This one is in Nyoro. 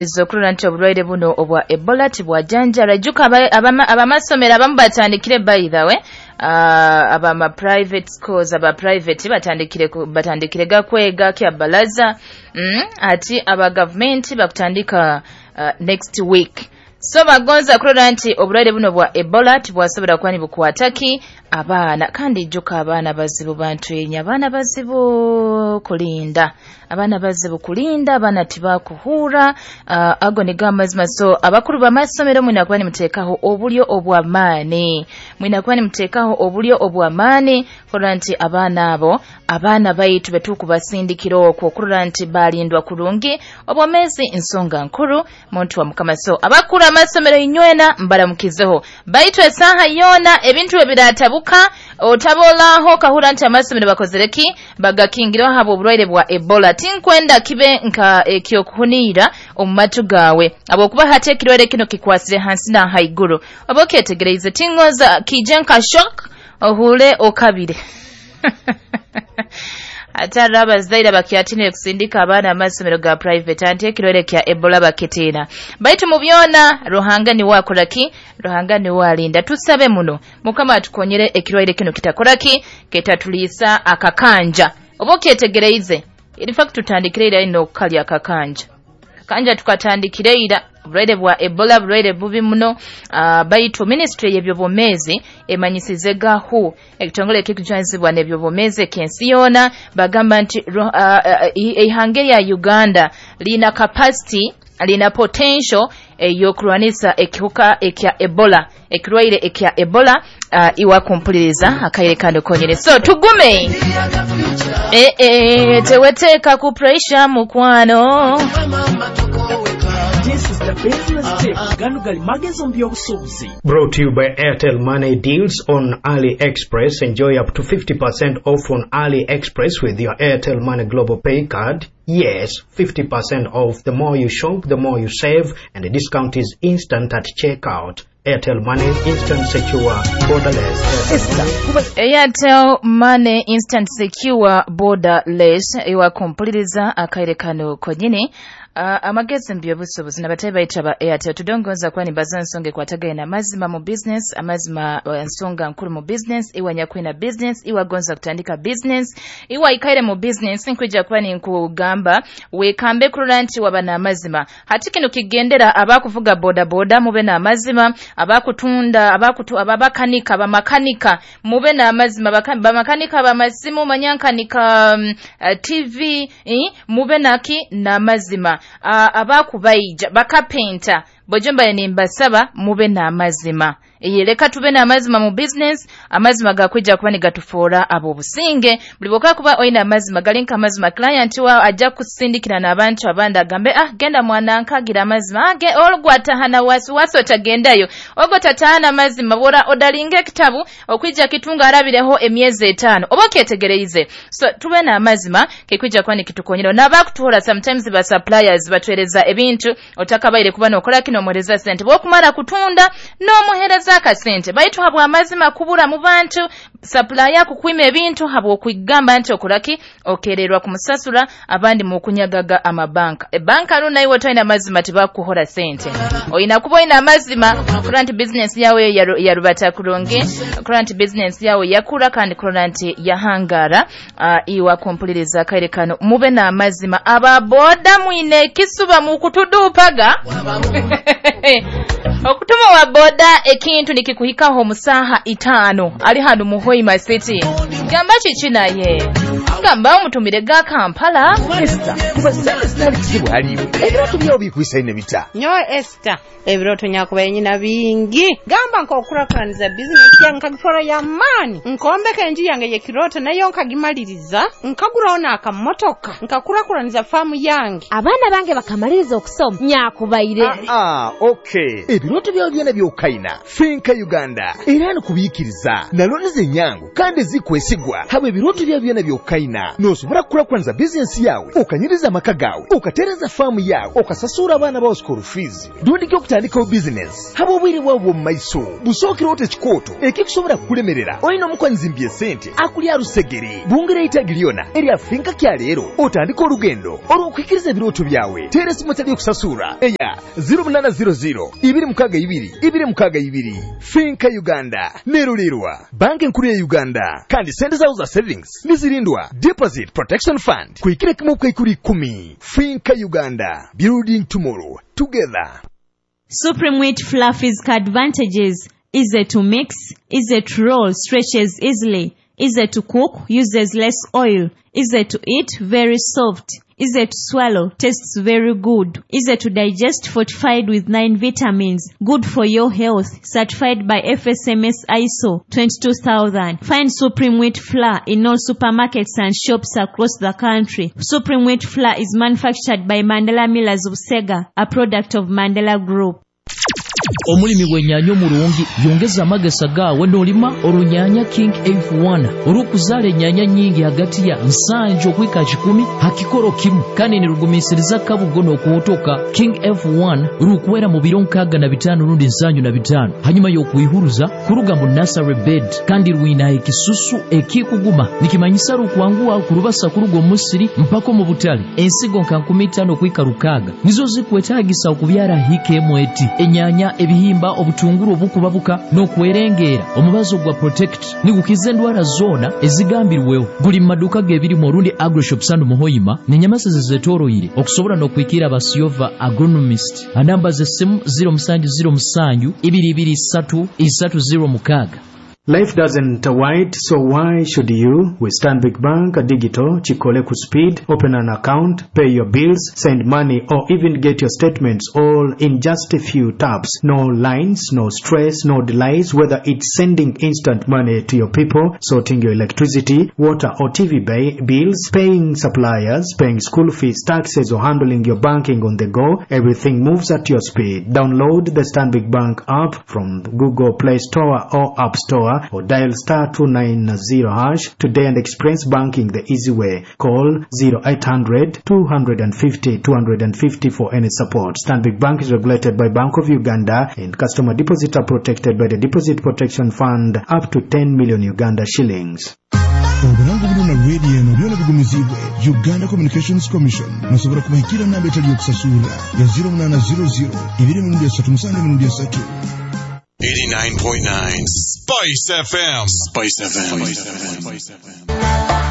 Okurora nti obulwaire buno obwa Ebola tibwajanjara. Ijuka abamasomero abamu batandikire, by the way, abama private schools, aba private batandikire gakwega kya balaza, ati aba gavumenti bakutandika next week. So bagonza kurora nti obulwaire buno bwa Ebola tibwasobora kuba nibukwataki abaana. Kandi ijuka abaana bazibu, bantu enya abaana bazibu kulinda, abaana bazibu kulinda, abaana tibakuhura. Ago nigo amazima. So abakuru b'amasomero, mwina kuba nimuteekaho obulyo obw'amaani, mwina kuba nimuteekaho obulyo obw'amaani kurora nti abaana abo, abaana baitu betukubasindikira okwo, kurora nti balindwa kurungi. Obwomeezi nsonga nkuru, muntu wa Mukama. So abakuru amasomero inywena mbaramukizeho, baitu esaaha yoona ebintu ebiratabuka otabolaho kahura nti amasomero bakozere ki, bagakingireho habwa obulwaire bwa Ebola. Tinkwenda kibe nka ekyokuhuniira omu matu gawe, habwokuba hati ekirwaire kino kikwasire hansi na haiguru. Oba okyetegereize, tingoza kije nka shock ohure okabire. Ate hariho abazaire abakyatinire kusindika abaana amasomero ga private, anti ekirwaire kya Ebola bakitiina. Baitu mu byona Ruhanga niwe akora ki, Ruhanga niwe alinda. Tusabe muno Mukama atukonyere ekirwaire kino kitakora ki, kitatuliisa akakanja. Oba okyetegereize, in fact tutandikire ira ino okukalya akakanja, kanja tukatandikire ira. Obulwaire bwa Ebola bulwaire bubi muno. Baitu ministry y'ebyobwomeezi emanyisize gahu ekitongole ekikujwanizibwa n'ebyobwomeezi eky'ensi yoona, bagamba nti eihanga erya Uganda liina capacity, liina potential ey'okurwanisa ekihuka ekya Ebola, ekirwaire ekya Ebola. Iwa kumpuliriza akaire kano konyene, so tugume, teweteeka ku pressure, mukwano. This is the business tip. Gano gali magezi mu by'obusuubuzi. Brought to you by Airtel Money deals on AliExpress. Enjoy up to 50% off on AliExpress with your Airtel Money Global Pay card. Yes, 50% off. The more you shop, the more you save, and the discount is instant at checkout. Airtel Money, instant, secure, borderless. Esther kuba Airtel Money, instant, secure, borderless. Iwa kumpuliriza akaire kano konyini. Amagezi mu by'obusuubuzi nabatayi bayita ba Airtel. Tudongoza kuba nimbaza nsonga ekwatagaine n'amazima mu business. Amazima nsonga nkuru mu business. Iwe nyakwina business, iwe agonza kutandika business, iwe aikaire mu business, nkwija kuba ninkugamba wekambe kurora nti waba n'amazima. Hati kino kigendera abakuvuga boda boda, mube n'amazima, abakutunda, abakutu, ababakanika, abamakanika, mube n'amazima. Bamakanika bamasimu, manyankanika TV, mube naki n'amazima. Abakubaija, bakapenta bojo, mbaye nimbasaba mube n'amazima. Iye, leka tube n'amazima mu business. Amazima gakwija kuba nigatufuura ab'obusinge. Buli bwoka kuba oyina amazima gali nka amazima, client wa ajja kusindikira n'abantu abandi agambe, "Ah, genda mwana nkagira amazima." Ah, olugwatahana wasiwasi otagendayo ogwo tatahana amazima. Bwora odalinga ekitabu okwija kitunga arabireho emyezi 5. Oba okyetegereize? So tube n'amazima, kikwija kuba nikitukonyera. N'abakutuhora sometimes ba suppliers batwereza ebintu otakabaire kuba nokola kino, omuhereza sente, bwokumara kutunda n'omuhereza akasente. Baitu habwa amazima kubura mu bantu, supplier kukwima ebintu habw'okwigamba nti okoraki, okererwa kumusasura. Abandi mukunyagaga amabanka, ebanka runa iwe toyina amazima tibakuhora sente. Oyina kuba oyina amazima kurora nti business yawe yarubata kurungi, kurora nti business yawe yakura, kandi kurora nti yahangara. Iwa kumpuliriza akaire kano, mube n'amazima. Ababoda mwine ekisuba mukutudupaga. Okutuma wa boda ekintu nikikuhikaho musaha 5, ali hano mu Hoima City, gamba kiki naye gamba omutumire ga Kampala. Esther kuba sente zitali kizibu haliwe, ebirooto byawo bikwisaine bita? Nyowe Esther, ebirooto nyakubaye nyina bingi. Gamba nk'okukurakuraniza bizinesi yange nkagifora y'amaani, nkombeka enju yange y'ekirooto nayo nkagimaliriza, nkaguraho n'akamotoka, nkakurakuraniza faamu yange. Abaana bange bakamaliriza okusoma, nyakubaire. Ah, okay, ebirooto byawe byona byokaina, Finca Uganda era nikubiikiriza naloniza. Enyangu kandi ezikwesigwa habwe ebirooto byawe byona byokukaina. Nosobora kukurakuraniza bizinesi yawe, okanyiriza amaka gawe, okatereza faamu yawe, okasasura abaana bawe school fees, rundi okutandikaho bizinesi. Haba obwire bwawe bw'omu maiso busookereho tekikooto ekikusobora kukulemerera. Olina omukwanyizi mbyesente akulya rusegere bungira eitagi lyona erya Finca kya leero, otandika olugendo olw'okuhikiriza ebirooto byawe. Teera esimu etali okusasura eya 0800 262 262. Finca Uganda nerulirwa Banka Enkuru ya Uganda, kandi sente zawe za savings nizirindwa Deposit Protection Fund kuhikira kimu bukaikuru 10. Finca Uganda, building tomorrow together. Supreme Wheat Flour physical advantages: easy to mix, easy to roll, stretches easily, easy to cook, uses less oil, easy to eat, very soft, easy to swallow, tastes very good, easy to digest, fortified with 9 vitamins, good for your health, certified by FSMS ISO 22000. Find Supreme Wheat Flour in all supermarkets and shops across the country. Supreme Wheat Flour is manufactured by Mandela Millers of Sega, a product of Mandela Group. Omulimi bw'ennyaanya omurungi yongeza amagesa gaawe n'olima orunyanya King F1 orukuzaala ennyaanya nnyingi hagati ya 70 okuhika 100 ha kikoro kimu, kandi nirugumiisiriza kabugo n'okuhotoka. King F1 rukwera mu biro 65 rundi 75 hanyuma y'okwihuruza kuruga mu nursery bed, kandi rwina ekisusu ekikuguma nikimanyisa rukwanguha kurubasa kuruga omu musiri mpaka omu butale. Ensigo nka 50 okuhika 6 nizo zikwetaagisa okubyara hika emu eti enyanya, ebihimba, obutunguru obukubabuka n'okwerengera. Omubazo gwa Protect nigukiza endwara zona ezigambirweho. Guli mu maduuka g'ebirimu orundi agroshop sanu muhoima n'enyamasa zezetoroire okusobora n'okwikira abasiyova agronomist. Anamba z'essimu 0707 223 306. Life doesn't wait, so why should you? With Stanbic Bank Digital, Chikole Speed, open an account, pay your bills, send money, or even get your statements all in just a few taps. No lines, no stress, no delays, whether it's sending instant money to your people, sorting your electricity, water or TV bills, paying suppliers, paying school fees, taxes, or handling your banking on the go, everything moves at your speed. Download the Stanbic Bank app from Google Play Store or App Store, or dial star 290# today and experience banking the easy way. Call 0800 250 250 for any support. Stanbic Bank is regulated by Bank of Uganda and customer deposits are protected by the Deposit Protection Fund up to 10 million Uganda shillings. Oburango buno na radio eno byona bigumizibwe Uganda Communications Commission. Nosobora kubahikira namba etali yokusasura ya 0800 237 3. 89.9 Spice FM. Spice FM. Spice FM.